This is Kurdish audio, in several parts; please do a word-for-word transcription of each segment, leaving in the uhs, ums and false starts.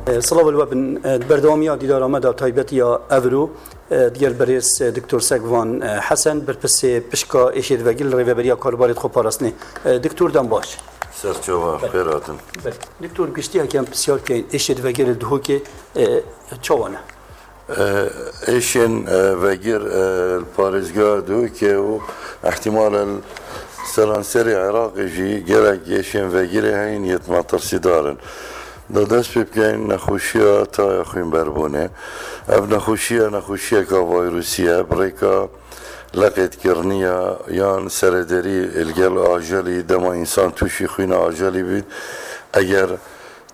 Silav li we bin. Di berdewamiya dîdara me de taybetiya evro, digel berêz Doktor Sekvan Hesen, berpirsê pişka êşê di vegir li Rêveberiya Karûbarê di xwe parastinê. Doktor, dem baş. Ser çava, xêr hatin. Doktor, giştiyeke em pisyar keyin, êşê di vegir li Duhokê çawa ne? Êşên vegir li parêzgeha Duhokê û ihtimal e li seranserê Iraqê jî gelek êşên vegirê heyîn yê metirsîdar in. Da dest pê bikeyin nexweşiya taya xwînberbûnê. Ev nexweşiya nexweşiyeka vayrusî ye, bi rêka leqêtkiriniya yan serederî li gel ajelî, dema însan tûşî xwîna ajelî bît, eger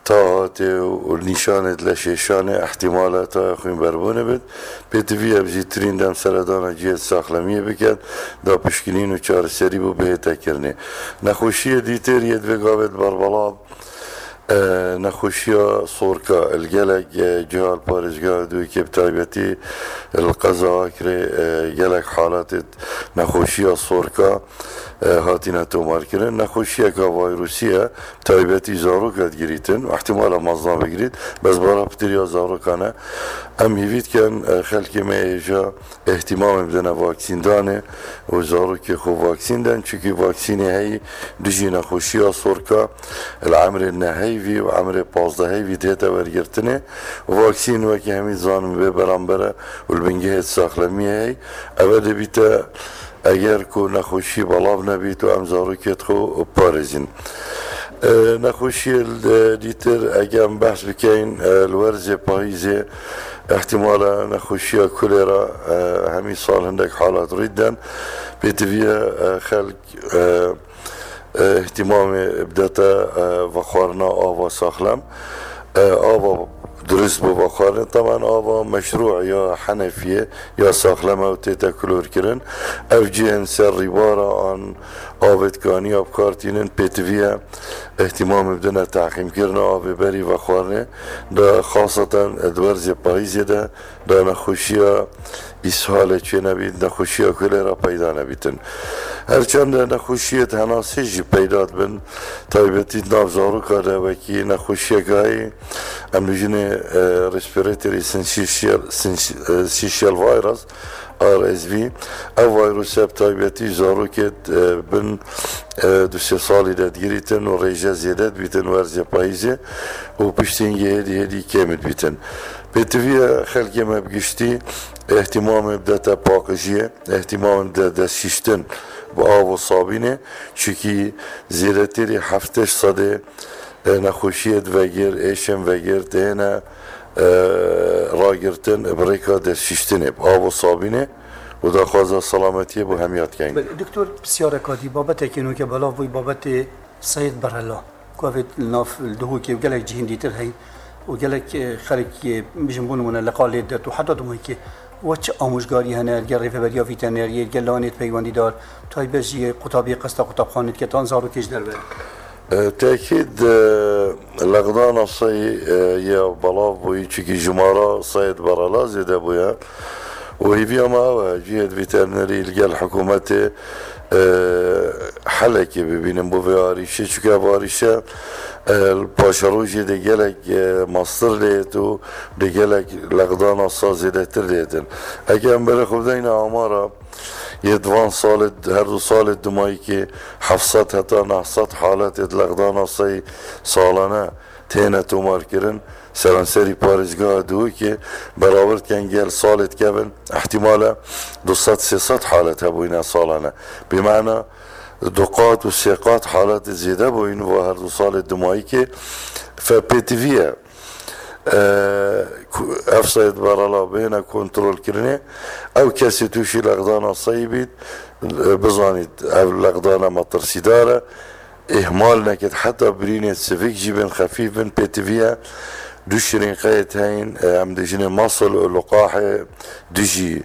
ta hatê û nîşanê di leşê şanê, ihtimal e taya xwînberbûnê bit. Pêtivî ye bi zîtirîn dem seredana cihê saxlemiyê biket, da pişkinîn û çareserî bû bihête kirinê. Nexweşiyê dîtir yê di vê gavê di berbelav, e, nexweşiya sorka, li gelek, e, ciha li parêzgeha Duhokê bi taybetî li qeza Akrê, e, gelek halatê nexweşiya sorka, e, hatine tomarkirin. Nexweşiyeka vayrusî ye, taybetî zaroka digirîtin, ihtimala mezna bigirît, bes bara pitir ya zarokan e. Em hîvî dikin, e, xelkê me hêja îhtîmamê bidine vaksîndanê û zarokê xwe vaksîn den, çunkî vaksînê heyî dijî nexweşiya sorka li emrê neheyvî û emrê pazdeheyvî dihête wergirtinê. Vaksîn wekî hemî dizanin vê beramber e û li bingehê saxlemiyê heyî. Eve dibîte eger ku nexweşî belav nebît û em zarokê xwe parêzîn. E, nexweşiyê li dîtir, eger em behs bikeyin, e, li werzê payîzê, ihtimala nexweşiya kolera, e, hemî sal hindek halat rî den. Pêtivî ye, e, xelk, e, e, îhtîmamê bidete, e, vexwarina ava saxlem. E, ava durist bo vexwarinê. Teban ava meşrû ya henefiyê ya saxlem e û tête klorkirin. Ev cihên ser rîbara an avêtkaniya bi kar tînin pêtivî ye. Îhtîmamê bidine tehqîmkirina avê berî vexwarinê. Da xaseten di werzê payîzê de da nexweşiya îshalê çênebît, nexweşiya kolera peyda nebîtin. Her çend nexweşiyê di henasê jî peyda dibin, taybetî di nav zaroka de wekî nexweşiyeke heyî, em dibêjinê, e, respiratory syncytial, syncy-, e, syncytial virus, R S V. Ev vîrus e bi taybetî zarokê, e, bin, e, du sê salî de digirîtin û rêje zêde dibîtin werzê payîzê û piştî hingê hêdî hêdî kêm dibîtin. Pêtivî ye xelkê me bi giştî îhtîmamê bidete paqijiyê, îhtîmamê bide destşîştin bi av û sabînê, çunkî zêdetirî heftê sedê, e, nexweşiyê di vegir, êşên vegir têne, e, ragirtin bi rêka destşîştinê, bi av û sabînê û daxwaza selametiyê bo hemiya dikeyin. Belê, doktor, pisyareka dî, babetekê nûke belav bûyî, babetê Seyid Berela, ku ev ê li nav, li Duhokê û gelek cihên dîtir heyn û gelek, e, xelk, e, bijin bo nimûne li qalê det û heta Duhokê, we çi amûjgarî hene, li gel rêveberiya vîteneriyê, li gel lanê peywendîdar, taybet jî qutabiyê qesta qutabxanê dike, tan zarokê ji derve? E, tekîd, e, lexdana sey, e, ya belav bûyî, çikî jimara Seyid Berela zêde bûye. Û hêviya me ew e, cihê di vîternerî li gel hikûmetê, e, helekê bibînin bo vê arîşê. Çunke ev arîşe, e, li paşerojê de gelek, e, mastir lê yêt û de gelek lexdana sa zêdetir lê dikin. Eke em berê xwe bideyne amara yê di van salê, her du salê dimayîkê heft sed heta neh sed haletê di lexdana sey salane têne tomarkirin. Seranserî parêzgeha Duhokê berawer dikin gel salê dikevin, îhtîmal e du sed sê sed halet hebûyîne salane. Bi mana du qat û sê qat haletê zêde bûyîn va her du salê dimayîkê. Fe pêtivî ye, e, ku ev Seyid Berela bihêne kontrolkirinê, ew kesê tûşî lexdana seyî bît, e, bizanît ev lexdana metirsîdar e. Îhmal nekit, heta birînê sivik jî bên xefîf bin, pêtivî ye. Du şirînqeyê heyîn, e, em dibêjinê masl û luqahê dijî